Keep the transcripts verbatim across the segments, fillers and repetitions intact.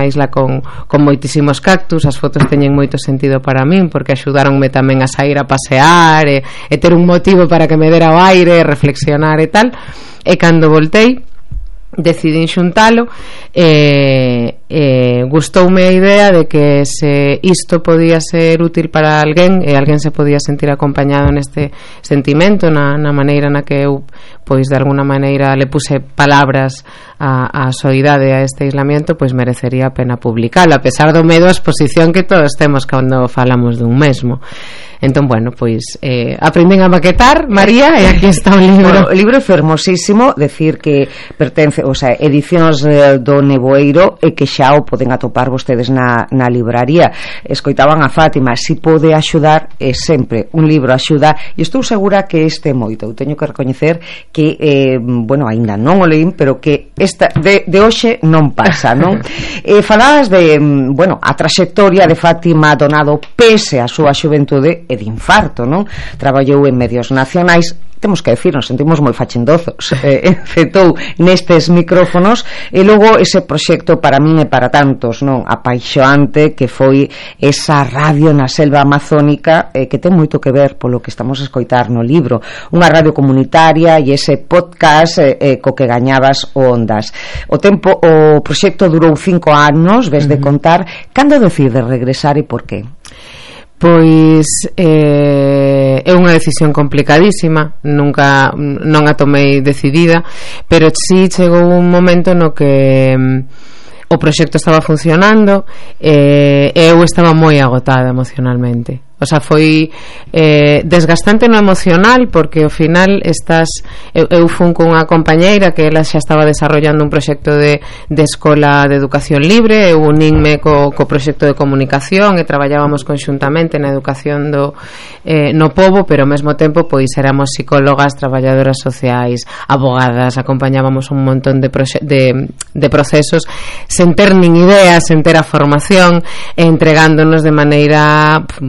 isla con, con moitísimos cactus. As fotos teñen moito sentido para min porque axudaronme tamén a sair a pasear e, e ter un motivo para que me dera o aire, reflexionar e tal. E cando voltei decidín xuntalo e, e gustoume a idea de que se isto podía ser útil para alguén e alguén se podía sentir acompañado neste sentimento, na, na maneira na que eu pois de alguna maneira le puse palabras a, a soidade a este aislamiento, pois merecería a pena publicalo, a pesar do medo a exposición que todos temos cando falamos dun mesmo. Entón, bueno, pois eh, aprenden a maquetar, María, e aquí está o libro. Bueno, o libro é fermosísimo, decir que pertence, o sea, edicións eh, do Neboeiro e que xa o poden atopar vostedes na, na libraría. Escoitaban a Fátima, si pode axudar, é sempre un libro axuda, e estou segura que este moito. Eu teño que recoñecer que, eh, bueno, aínda non o leín, pero que esta de, de hoxe non pasa, non? eh, falabas de, bueno, a traxectoria de Fátima Donado pese a súa xuventude e de infarto, non? Traballou en medios nacionais, temos que decir, nos sentimos moi fachendozos, eh, encetou nestes micrófonos e logo ese proxecto para min e para tantos, non, apaixoante que foi esa radio na selva amazónica, eh, que ten moito que ver polo que estamos a escoitar no libro, unha radio comunitaria e ese podcast eh, eh, co que gañabas o Ondas. O tempo, o proxecto durou cinco anos, ves de contar. Cando decides regresar e por qué? Pois eh, é unha decisión complicadísima, nunca non a tomei decidida, pero si chegou un momento no que mm, o proxecto estaba funcionando e eh, eu estaba moi agotada emocionalmente. O sea, foi eh, desgastante no emocional porque ao final estás, eu, eu fun con unha compañeira que ela xa estaba desarrollando un proxecto de, de escola de educación libre, eu unínme co, co proxecto de comunicación e traballábamos conxuntamente na educación do, eh, no pobo, pero ao mesmo tempo pois éramos psicólogas, traballadoras sociais, abogadas, acompañábamos un montón de, proxe- de, de procesos sen ter nin idea, sen ter a formación, entregándonos de maneira pff,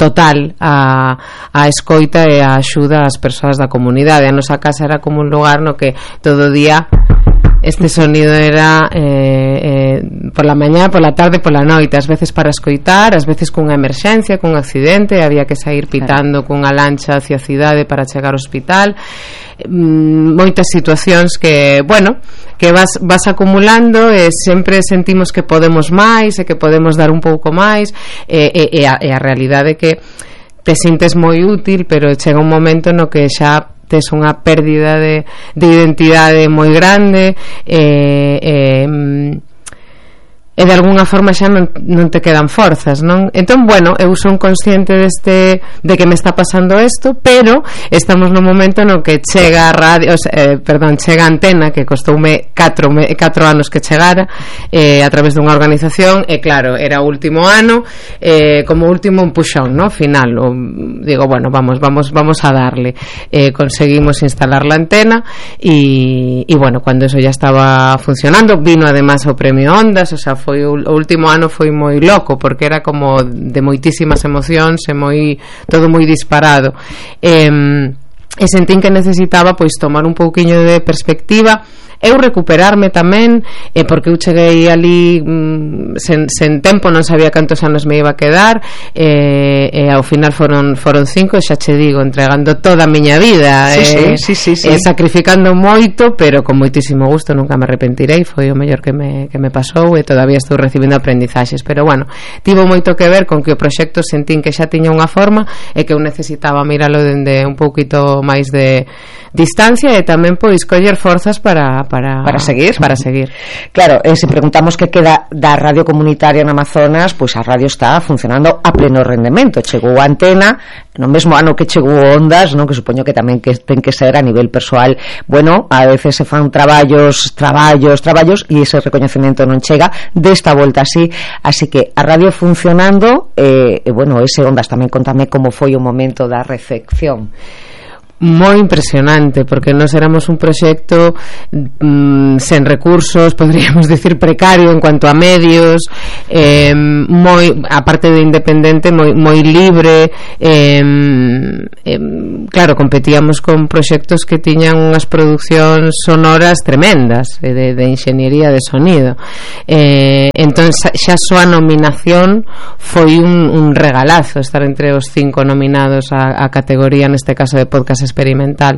total a, a escoita e a axuda ás persoas da comunidade. A nosa casa era como un lugar no que todo o día este sonido era eh, eh, por la mañá, por la tarde, por la noite, ás veces para escoitar, ás veces cunha emerxencia, cun accidente, había que sair pitando cunha lancha hacia a cidade para chegar ao hospital. Mm, moitas situacións que, bueno, que vas, vas acumulando e sempre sentimos que podemos máis e que podemos dar un pouco máis e, e, e, a, e a realidade é que te sintes moi útil, pero chega un momento no que xa tes unha pérdida de, de identidade moi grande e, e, e de alguna forma xa non, non te quedan forzas, non? Entón, bueno, eu son consciente deste, de que me está pasando isto, pero estamos no momento no que chega a radio, eh, perdón, chega a Antena, que costoume catro anos que chegara eh, a través dunha organización, e claro, era o último ano, eh, como último empuxón, no? Final, o, digo, bueno, vamos, vamos, vamos a darle. Eh, conseguimos instalar la Antena e, e bueno, cuando eso ya estaba funcionando, vino además o premio Ondas, o sea, foi o último ano foi moi loco porque era como de moitísimas emocións e moi todo moi disparado e, e sentín que necesitaba pois tomar un pouquiño de perspectiva, eu recuperarme tamén eh, porque eu cheguei ali mm, sen, sen tempo, non sabía cantos anos me iba a quedar e, e ao final foron foron cinco e xa che digo, entregando toda a miña vida sí, eh, sí, sí, sí, sí. Eh, sacrificando moito, pero con moitísimo gusto, nunca me arrepentirei, foi o mellor que me, que me pasou e todavía estou recibindo aprendizaxes, pero bueno, tivo moito que ver con que o proxecto sentín que xa tiña unha forma e que eu necesitaba miralo dende un pouquito máis de distancia e tamén pois coller forzas para Para, para seguir para seguir. Claro, eh, se preguntamos que queda da radio comunitaria no Amazonas, pois a radio está funcionando a pleno rendemento. Chegou a Antena no mesmo ano que chegou Ondas, non, que supoño que tamén que ten que ser a nivel persoal. Bueno, a veces se fan traballos, traballos, traballos e ese recoñecemento non chega. Desta volta así, así que a radio funcionando e eh, eh, bueno, ese Ondas tamén contame como foi o momento da recepción. moi impresionante, porque nós éramos un proxecto mm, sen recursos, podríamos decir precario en cuanto a medios, eh, moi, aparte de independente, moi, moi libre, eh, eh, claro, competíamos con proxectos que tiñan unhas producións sonoras tremendas, de, de enxeñería de sonido, eh, entón xa só a nominación foi un, un regalazo, estar entre os cinco nominados a, a categoría, neste caso de podcast experimental.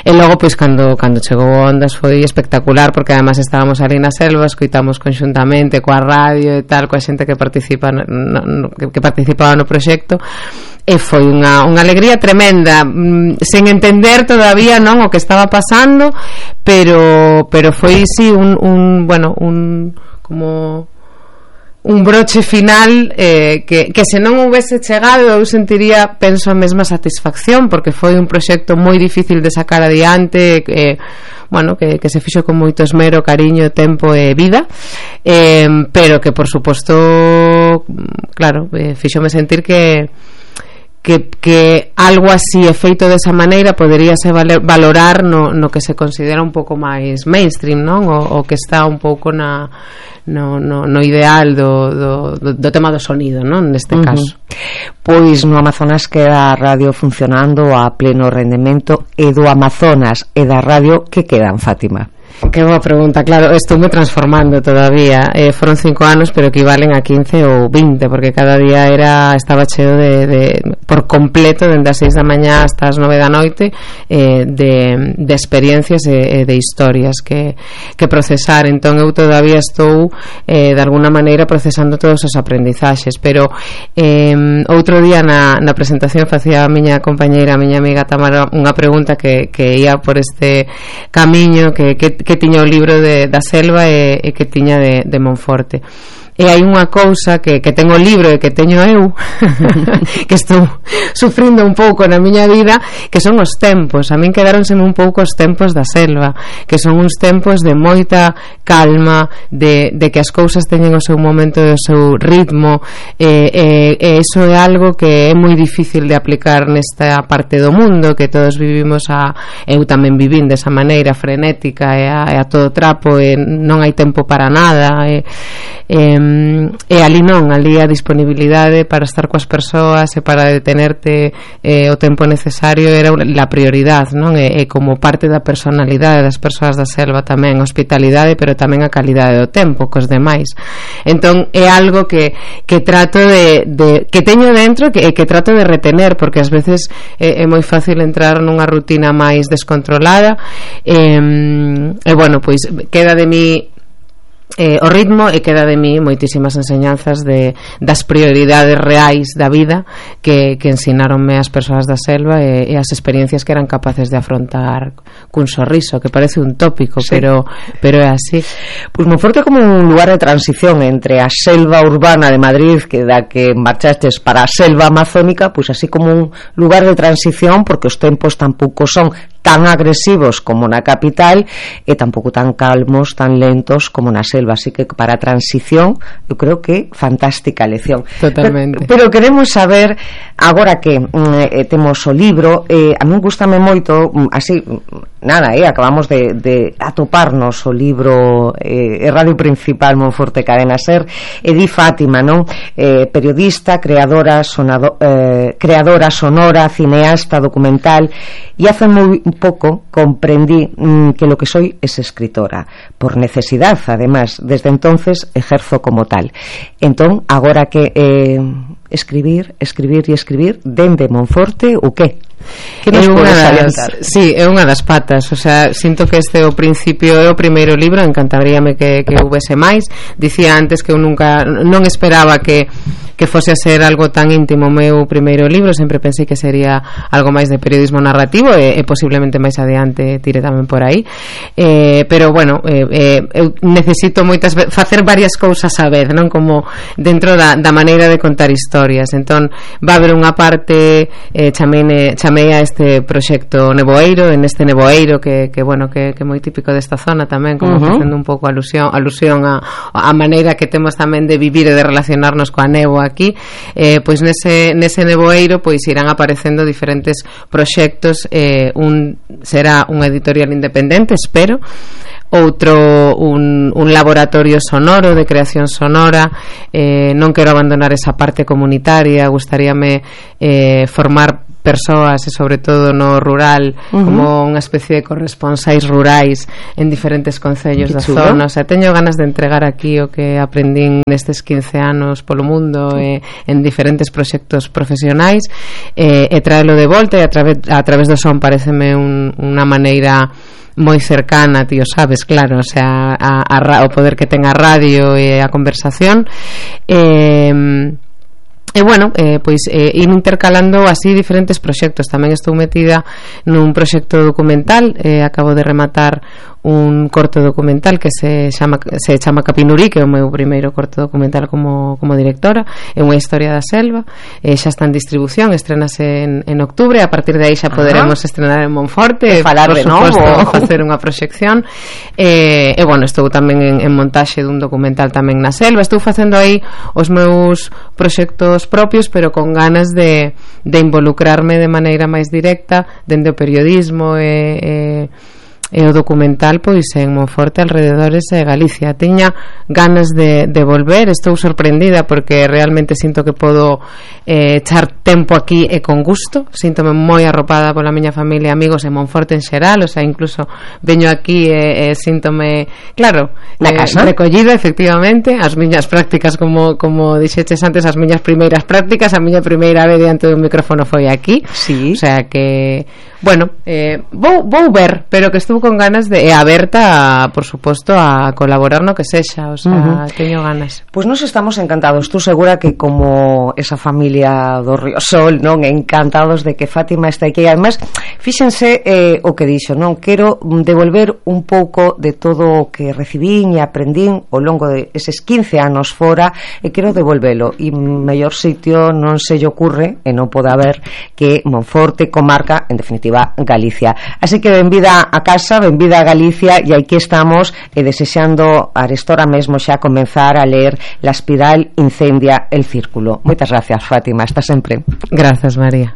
E logo pois cando cando chegou Ondas foi espectacular, porque además estábamos ali na selva, escoitamos conxuntamente coa radio e tal, coa xente que participa no, no, que, que participaba no proxecto, e foi unha, unha alegría tremenda, mm, sen entender todavía non o que estaba pasando, pero pero foi sí un, un bueno, un como un broche final eh, que, que se non houvese chegado eu sentiría, penso, a mesma satisfacción, porque foi un proxecto moi difícil de sacar adiante, eh, bueno, que, que se fixo con moito esmero, cariño, tempo e vida, eh, pero que por suposto, claro, eh, fíxome sentir que Que, que algo así e feito desa maneira poderíase valorar no, no que se considera un pouco máis mainstream, non? O, o que está un pouco na, no, no, no ideal do, do, do, do tema do sonido, non? Neste caso. Uh-huh. Pois no Amazonas queda a radio funcionando a pleno rendemento, e do Amazonas e da radio que quedan, Fátima? Que boa pregunta, claro, estou me transformando todavía, eh, foron cinco anos pero equivalen a quince ou vinte, porque cada día era estaba cheo de, de por completo, dende as seis da mañá hasta as nove da noite, eh, de, de experiencias e, e de historias que, que procesar. Entón eu todavía estou eh, de alguna maneira procesando todos os aprendizaxes, pero eh, outro día na, na presentación facía a miña compañeira, a miña amiga Tamara, unha pregunta que, que ia por este camiño que, que que tiña o libro de, da selva e, e que tiña de, de Monforte. E hai unha cousa que, que ten o libro e que teño eu que estou sufrindo un pouco na miña vida, que son os tempos. A min quedáronseme un pouco os tempos da selva, que son uns tempos de moita calma, de, de que as cousas teñen o seu momento e o seu ritmo, e, e, e iso é algo que é moi difícil de aplicar nesta parte do mundo, que todos vivimos a, eu tamén vivín desa maneira frenética e a, e a todo trapo, e non hai tempo para nada, e, e e ali non, ali a disponibilidade para estar coas persoas e para detenerte eh, o tempo necesario era a prioridade, non? E, e como parte da personalidade das persoas da selva tamén, a hospitalidade, pero tamén a calidade do tempo cos demais. Entón é algo que, que trato de, de que teño dentro e que, que trato de retener, porque ás veces é, é moi fácil entrar nunha rutina máis descontrolada, e, e bueno, pois queda de mí Eh, o ritmo, e queda de mí moitísimas enseñanzas de, das prioridades reais da vida que, que ensinaronme as persoas da selva, e, e as experiencias que eran capaces de afrontar cun sorriso, que parece un tópico, sí. pero, pero é así. Pois Monforte como un lugar de transición entre a selva urbana de Madrid, que da que marchastes, para a selva amazónica, pois así como un lugar de transición, porque os tempos tampouco son tan agresivos como na capital e tampouco tan calmos, tan lentos como na selva, así que para a transición eu creo que fantástica lección. Totalmente. Pero, pero queremos saber agora que eh, temos o libro, eh, a min gustame moito, así nada, eh, acabamos de, de atoparnos o libro eh, Radio Principal Monforte Cadena Ser, e di Fátima, non? Eh, periodista, creadora, sonado, eh, creadora sonora, cineasta, documental, e hace moi poco comprendí mmm, que lo que soy es escritora, por necesidad, además. Desde entonces ejerzo como tal. Entón, agora que eh, escribir, escribir e escribir dende Monforte, o que? Que nos podes adiantar? Sí, é unha das patas, o sea, sinto que este é o principio, é o primeiro libro, encantaríame que, que houvese máis. Dicía antes que eu nunca, non esperaba que que fose a ser algo tan íntimo o meu primeiro libro, sempre pensei que sería algo máis de periodismo narrativo, e, e posiblemente máis adiante tire tamén por aí, eh, pero bueno, eh, eh, eu necesito moitas ve- facer varias cousas a vez, non? Como dentro da, da maneira de contar historias. Entón va a haber unha parte, eh, chamei, chamei a este proxecto Neboeiro, en este Neboeiro que, que bueno, que, que é moi típico desta zona tamén, como uh-huh. facendo un pouco alusión, alusión a, a maneira que temos tamén de vivir e de relacionarnos coa néboa aquí, eh, pois nese, nese nevoeiro pois irán aparecendo diferentes proxectos, eh, un será unha editorial independente, espero, outro un, un laboratorio sonoro de creación sonora, eh, non quero abandonar esa parte comunitaria, gustaríame eh, formar persoas e sobre todo no rural, uh-huh, como unha especie de corresponsais rurais en diferentes concellos da zona. O sea, teño ganas de entregar aquí o que aprendín nestes quince anos polo mundo, eh, en diferentes proxectos profesionais, eh, e traelo de volta, e a través, a través do son pareceme un, unha maneira moi cercana, tío, sabes, claro, o sea, a, a, o poder que ten a radio e a conversación. eh E bueno, eh, pois eh, ir intercalando así diferentes proxectos. Tamén estou metida nun proxecto documental, eh, acabo de rematar un corto documental que se chama, se chama Capinurí, que é o meu primeiro corto documental como, como directora. É unha historia da selva, eh, xa está en distribución, estrenase en, en octubre. A partir de aí xa poderemos ah, estrenar en Monforte, e falar por de suposto, novo, facer unha proxección. eh, e bueno, estou tamén en, en montaxe dun documental tamén na selva. Estou facendo aí os meus proxectos propios, pero con ganas de, de involucrarme de maneira máis directa dende o periodismo e, e e o documental pois en Monforte, alrededores de Galicia. Tiña ganas de, de volver, estou sorprendida porque realmente sinto que podo eh, echar tempo aquí e con gusto, síntome moi arropada pola miña familia e amigos en Monforte en xeral, o sea, incluso veño aquí e, e síntome, claro, na eh, casa recollida, efectivamente. As miñas prácticas, como, como dixeches antes, as miñas primeiras prácticas, a miña primeira vez diante dun micrófono foi aquí, sí. O sea que, bueno, eh, vou, vou ver, pero que estou con ganas de, e aberta a, por suposto, a colaborar no que sexa, o sea, uh-huh, teño ganas. Pois pues nos estamos encantados, estou segura que como esa familia do Riosol, non, encantados de que Fátima está aquí. Además, fíxense eh, o que dixo, non, quero devolver un pouco de todo o que recibín e aprendín ao longo de eses quince anos fora, e quero devolvelo, e mellor sitio non se lle ocurre e non pode haber que Monforte, comarca, en definitiva Galicia. Así que benvida a casa, benvida a Galicia, e aquí estamos e desexando arestora mesmo xa comenzar a ler La espiral incendia el círculo. Moitas gracias, Fátima, hasta sempre. Grazas, María.